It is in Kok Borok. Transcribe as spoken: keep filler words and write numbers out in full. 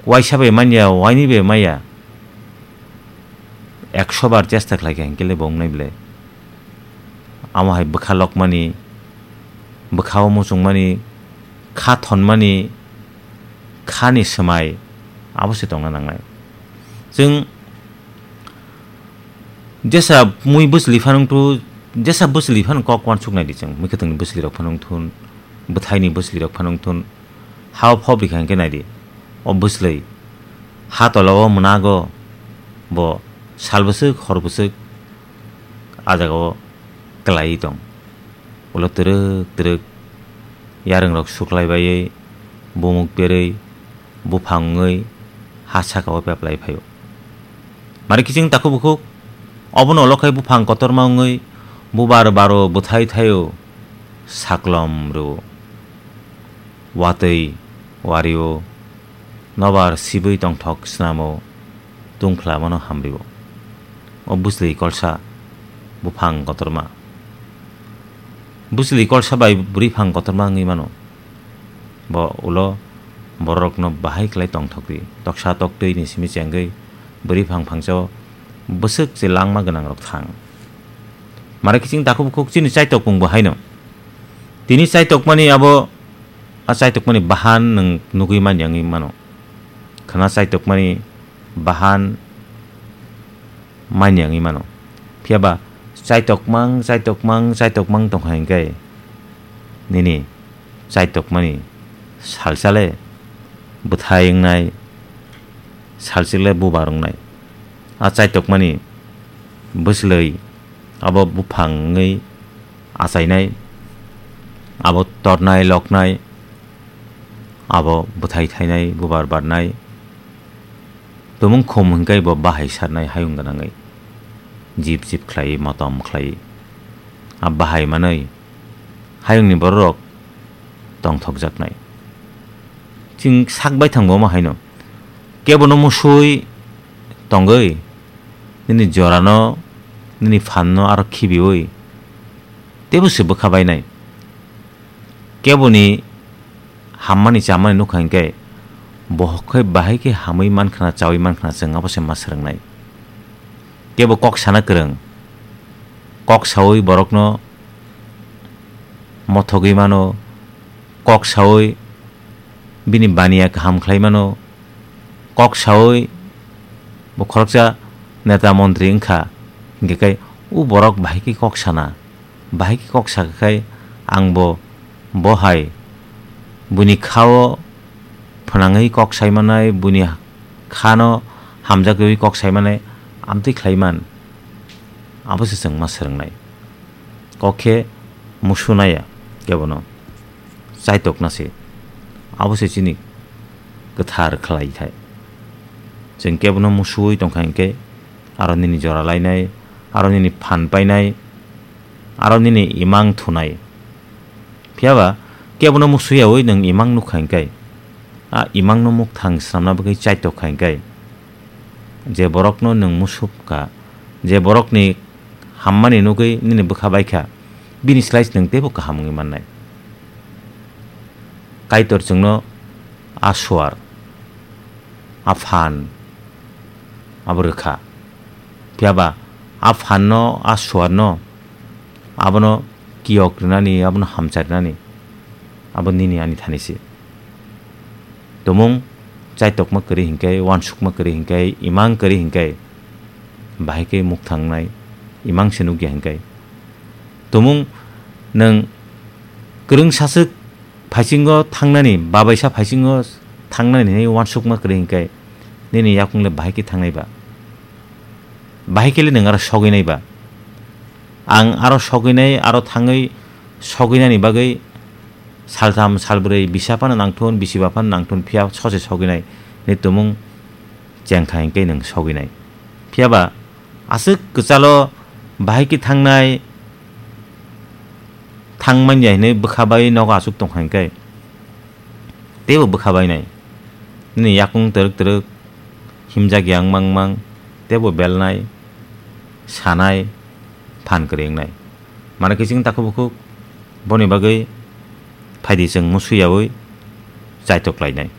Waisa bai manya, waini bai maya. Ekso bar chesta khlai kha hinkhe le bo wngnai ble. Amo hai bwkha lokmani, bwkha o muchungmani, kha thonmani, khani swmai, abo se tongna nangnai. Chwng jesa mui bwsli phano wngthu, jesa bwsli phano kok uansuk nai di chwng, mui kwthwngni bwsli rok phano wngthun, bwthaini bwsli rok phano wngthun, ha o phobri kha hinkhe nai di, o bwsli ha tola o mwnago bo sal bwswk hor bwswk a jaga o kwlaiwi tong. Ulo twrwk twrwk yarwng rok suklai baiwi, bumuk berwi, buphang wngwi ha saka o peplai phaio. Mari kiching takhuk bukhuk, obono ulo khai buphang kotorma wngwi bubar baro bwthai thaio, saklom rwo. Watwi wario, nobar sibwi tongthok snamo, tungphla mano hamrio. O bwsli kolsa buphang kotorma. Bwsli kolsa bai bwrwi phang kotorma wngwi mano. Bo ulo bororokno bahai khlai tongthokdi. Toksa toktwi ni simi chengwi bwrwi phang phangchao bwswk se langma gwnangrok thang. Mare kiching takhuk bukhuk chini chaitokmung bo haino. Tini chaitokmani abo, a chaitokmani bahan nwng nugwi manya wngwi mano. Khwna chaitokmani bahan manya wngwi mano. Phiya ba chaitokmang, chaitokmang, chaitokmang tongkha hinkhe nini chaitokmani salsa le bwthai wngnai, salsa le bubar wngnai. A chaitokmani bwslwi abo buphang wngwi achainai, abo tornai, loknai, abo bwthai thainai, bubar barnai. Tumung khum hinkhe bo bahai sarnai hayung gwnangwi, jip jip khlaiwi, motom khlaiwi. A bahai manwi hayungni bororok tongthokjaknai. Chwng sak baithang bo omo haino. Kebono musui tongwi, nini jorano, nini phanno aro khibiui teibo se bwkha bainai. Keboni hammani chamani nukha hinkhe, bohok khe bahai khe hamwi mankhna, chaui mankhna, chwng abo se ma swrwngnai. Kebo kok sana kwrwng, kok saui borokno mothogwi mano, kok saui bini baniya kaham khlai mano, kok saui bo khoroksa neta montri wngkha, hinkhe khe o borok bahai khe kok sana, bahai khe kok sakha khai ang bo, bo hai buini kha-o phwnangwi kok sai manai, buini kha-no hamjakgwi kok sai manai, amtwi khlai man, abo se chwng ma swrwngnai. Kok khe musu naiya kebono, chaitokna se. Abo se chini kwthar khlai thai. Chwng kebono musuwi tongkha hinkhe, aro nini jora lainai, aro nini phan painai, aro nini imang thunai. Phiya ba kebono musuyaui nwng imang nukha hinkhe, a imangno mukthang swnamna bagwi chaitokha hinkhe, je borokno nwng musupkha, je borokni hammani nugwi nini bwkha baikha, bini slai se nwng teibo kaham wngwi mannai. Kaitor chwngno a suar, a phan abo rwkha. Phiya ba a phanno, a suarno, abono kiyok rwnani, abono hamchai rwnani, abo nini ani thani se. Tumung chaitokma kwrwi hinkhe, uansukma kwrwi hinkhe, imang kwrwi hinkhe, bahai khe mukthang wngnai, imang se nukya hinkhe. Tumung nwng kwrwng saswk phaisingo thangnani, babaisa phaisingo thangnani hinwi uansukma kwrwi hinkhe, nini yakung le bahai khe thangnai ba? Bahai khe le nwng aro sogwi nai ba? Ang aro sogwi nai, aro thangwi sogwi nani bagwi saltham, salbrwi bisa phano nangthun, bisiba phano nangthun, phiya sose sogwi nai hinwi tumung chengkha hinkhe nwng sogwi nai. Phiya ba aswk kwchalo bahai khe thangnai, thang manya hinwi bwkha bai nogo achuk tongkha hinkhe, teibo bwkha bainai. Nini yakung twrwk twrwk himjak yang mang mang, teibo belnai, sanai, phan kwrwi wngnai. Mano khe chwng takhuk bukhuk boni bagwi phaidi chwng musuyaui chaitok lainai.